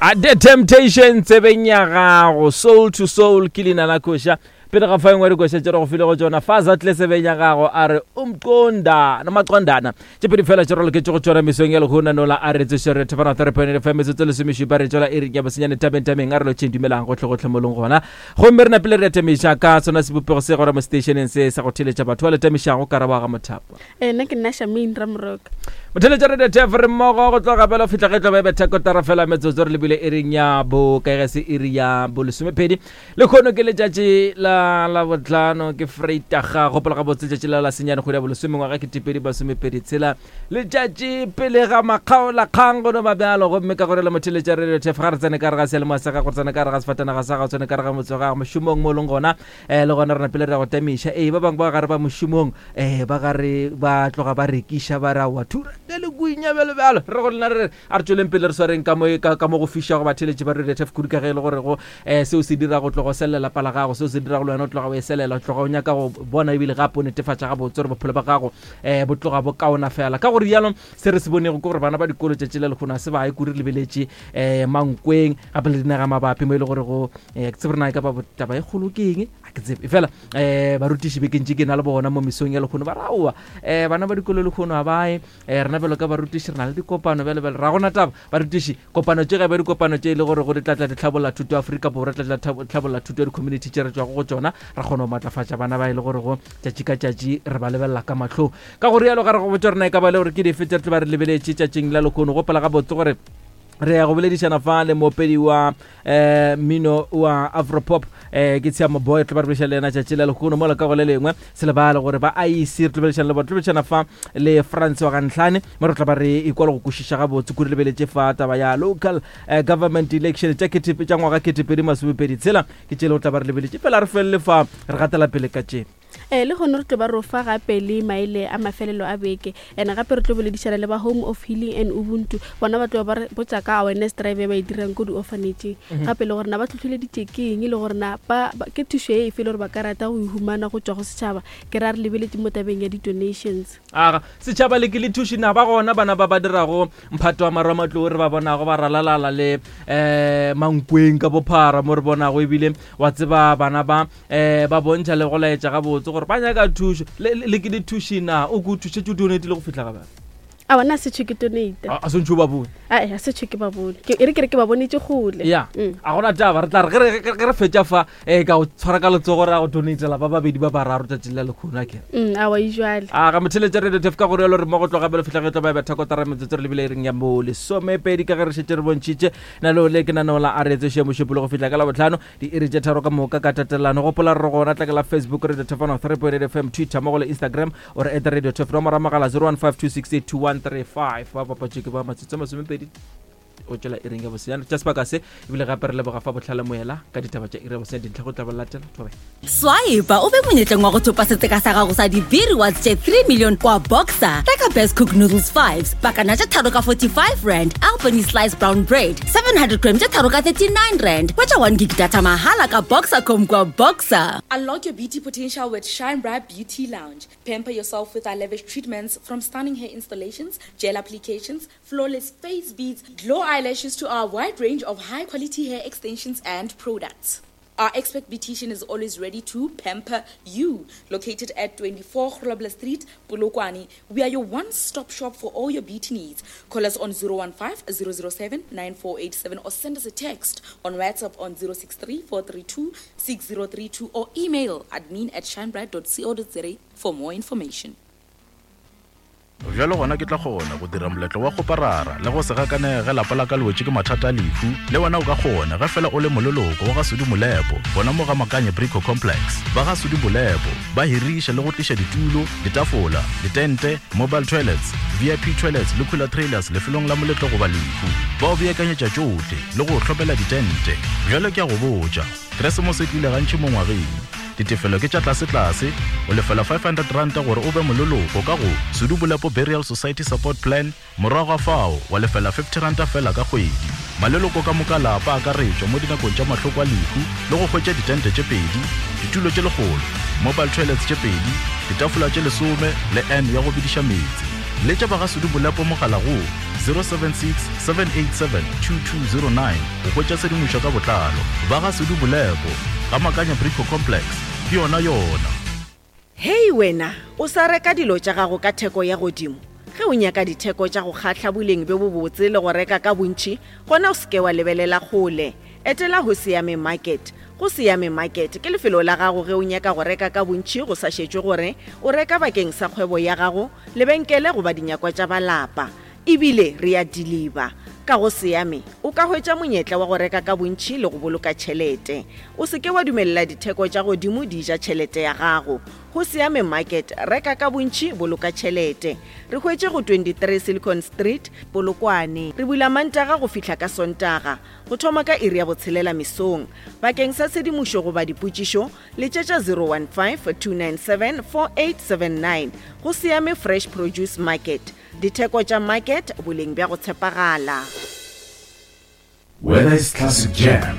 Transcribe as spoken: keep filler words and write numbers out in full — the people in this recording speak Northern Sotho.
A The Temptation tsebeng ya gago, Soul to Soul ke leina la koša. Pele ga fa engwe dikoša tše re go file go tšona, Faza tle tsebeng ya gago a re umqonda nomaqondana. Tše pedi fela tše re loketše go tšona mesong ya lehono nola a re tsoše re thefana three point eight F M metsotso lesomešupa re tšwela iring ya bosenyane tabeng tabeng a re lotšheng dumelang gohle gohle mo leng gona. Gomme re napile re tamiša ka sona sebopego se gona mo stationeng se sa go theletša batho ba le tamišago karabo ga Mothapa. Eh, nna ke nna Shamane Ramoroka. Motheletša re D T F re mmogo go tloga bjalo fihla ge tlo be betha kotara fela metsotso re lebile iring ya bo ka ge se iri ya bo lesomepedi. Lekgono ke letšatši la la botlhano ke Vrydag, gopola gabotse letšatši la la senyane kgwedi ya bolesome ngwaga ke tepedi masomepedi tshela, letšatši pele ga makgaolakgang go no ba bjalo. Gomme ka gore le motheletša Radio T F ga re tsene ka re ga seyalemoya sa gago, re tsene ka re ga sefatanaga sa gago, tsene ka re ga motse wa gago mošomong mo o leng gona, um le gona re napile re ya go tamiša. Ee, ba bangwe ba gare ba mošomong, um ba gare ba tloga ba rekiša ba re aowa thura le kuinya bjalo bjalo. Re go lena re a re tsweleng pele re swareng ka mo ka ka mo go fiša go batheletši ba Radio T F kudu ka ge e le gore go um seo se dira go tloga o selela lapa la gago, seo se dira go le wena o tloga o e selela, o tloga o nyaka go bona ebile gape o netefatša gabotse gore bophelo ba gago um bo tloga bo kaona fela. Ka gore rialo se re se bonego ke gore bana ba dikolo tšatši le lekgono a se ba ye kudu, re lebeletše um Mankweng gape le dinaga mabapi mo e le gore go um ke tsebe rena e ka ba taba e kgolo ke eng, a ke tsebe fela. um barutiši bekeng tše ke na le bona mo mesong ya lekgono ba re aowa, um bana ba dikolo lekgono ga bae, um rena bjalo ka barutiši re na le dikopano bjale bjale ra gona taba. Barutiši kopano tše gabe dikopano tše e le gore go di tlatla di tlhabolla thuto ya Afrika Borwa, tlatla tlhabolla thuto ya di-community tše re tšwago go tšona, ra kgona go matlafatša bana ba e le gore go tšatši ka tšatši re ba lebelela ka mahlong. Ka go rialo ga re go botša rena e ka ba le gore ke dife tše re tlo ba re lebeletše tšatšing la lekgono. Gopola gabotse gore re ya go boledišana fa le moopedi wa um mmino wa afropop, um ke Tshiamo Boy, tlo ba re boledišana le yena tšatši la lekgono. Mola ka go le lengwe se lebale gore ba I E C re tlo boledišana le bona, tlo boledišana fa le France wa Gantlhane mo re tla ba re ikwa le go kwešiša gabotse kudu. Lebeletše fa taba ya local uh, government election tša ketepe tša ngwaga ketepedi masomepedi tshela ke tšele o tla ba re lebeletše fela re felele fa re gatela pele ka tše. Eh, le gone re tlo ba ro fa gape le maele a mafelelo a beke, and gape re tlo boledišana le ba Home of Healing and Ubuntu, bona ba tlo ba re botsa ka awareness drive e ba e dirang ko di-orphanageng, gape le gore na ba tlhotlheleditše ke eng, le gore na ba ba- ke thušo e efe le gore ba ka rata go e humana go tswa go setšhaba, ke ra re lebeletše mo tabeng ya di-donations. Aga setšhaba le ke le thuši na ba gona bana ba ba dirago mphato wa marematlou re ba bonago ba ralalala le um Mankweng ka bophara mo re bonago ebile wa tseba bana ba um ba bontšha le go laetša gabotse gore ba nyaka thušo le le- le ke le thuši na o ko thušetše o donate le go fihla ga bana? A bona a setšho ke donate. A sentšho ba bone. Ae, a setšho ke ba bone. Ke- e re ke re ke ba bonetse gole. Ya. Mm. A gona taba, re tla re ge re- ge re fetša fa um ka go tshwara ka letsogo re ya go donatela ba babedi ba bararo tšatši la lekgono a kere. Mm, awa ejwale. A ga motheletša Radio T F ka gore yalo re mmogo tloga bjalo fihla ge tlo ba betha kotara metsotso re lebile ering ya mo lesomepedi ka ge re šetše re bontšhitše nalo le ke naneo la a re tsoše mošupolo go fihla ka Labotlhano diiri tše tharo ka moka ka tatelano. Gopola re gona tla ke la Facebook Radio T F three point eight F M, Twitter mo go le Instagram o re at Radio T F, nomoro ya mogala zero one five two six eight two one three five. Ba bapatše ke ba matsotso a masomepedi o tšwela iring ya bosenyane tša sebaka se ebile gape re leboga fa botlhale moela ka ditaba tša iri ya bosenyane dintlha go tla ba latela thobe. Swipe o be monyetleng wa go thopa setseka sa gago sa di-B rewards tše three million kwa Boxer. Reka Best Cook Noodles fives pakana tše tharo ka forty-five rand, Albany Slice Brown Bread seven hundred gram tše tharo ka thirty-nine rand. Hwetša one gig data mahala ka Boxercom kwa Boxer. Unlock your beauty potential with Shine Bright Beauty Lounge. Pamper yourself with our lavish treatments, from stunning hair installations, gel applications, flawless face beads, glow eyelashes to our wide range of high quality hair extensions and products. Our expert beautician is always ready to pamper you. Located at twenty-four Grobler Street, Polokwane, we are your one-stop shop for all your beauty needs. Call us on zero one five zero zero seven nine four eight seven or send us a text on WhatsApp on zero six three four three two six zero three two or email admin at shinebright dot co dot za for more information. Bjalo gona ke tla kgona go dira moletlo wa kgoparara le go se gakanege ge lapa la ka le wetše ke mathata a lehu. Le wena o ka kgona ge fela o le moleloko wa ga Sudi Molepo gona mo ga Makanye Brico Complex. Ba ga Sudi Molepo ba hiriša le go tliša ditulo, ditafola, ditente, mobile toilets, V I P toilets le cooler trailers lefelong la moletlo goba lehu. Ba o beakanyetša tšohle le go hlopela ditente. Bjalo ke a go botša, Keresemose e tlile gantši mo ngwageng. Ditefelo ke tša tlasetlase, o lefela five hundred ranta gore o be moleloko ka go Sudu Bolepo Burial Society Support Plan, morago ga fao wa lefela fifty ranta fela ka kgwedi. Maleloko ka moka lapa akaretšwa mo dinakong tša mahloko a lehu le go hwetša ditente tše pedi, ditulo tše lekgolo, mobile toilets tše pedi, ditafola tše lesome le n ya go bediša meetse. Letša ba ga Sudu Bolepo mogala go zero seven six seven eight seven two two zero nine go hwetša tshedimošo ka botlalo. Ba ga Sudu Bolepo ga Makanya Brico Complex ke yona yona. Hei wena, o sa reka dilo tša gago ka theko ya godimo. Ge o nyaka ditheko tša go kgahla boleng bjo bobotse le go reka ka bontši, gona o seke wa lebelela kgole. Etela go Siame Market. Go Siame Market ke lefelo la gago ge o nyaka go reka ka bontši go sa šetšwe gore o reka bakeng sa kgwebo ya gago, lebenkele goba dinyakwa tša balapa. Ebile re ya deliver. Ka go Siame o ka hwetša monyetla wa go reka ka bontši le go boloka tšhelete. O seke wa dumelela ditheko tša godimo di ja tšhelete ya gago. Go Siame Market, reka ka bontši, boloka tšhelete. Re hwetše go twenty-three Silicon Street, Polokwane. Re bula Mantaga go fihla ka Sontaga, go thoma ka iri ya botshelela mesong. Bakeng sa tshedimošo goba dipotšišo, letšetša zero one five two nine seven four eight seven nine. Go Siame Fresh Produce Market. Ditheko tša market, boleng bja go tshepagala. Whether it's classic jams,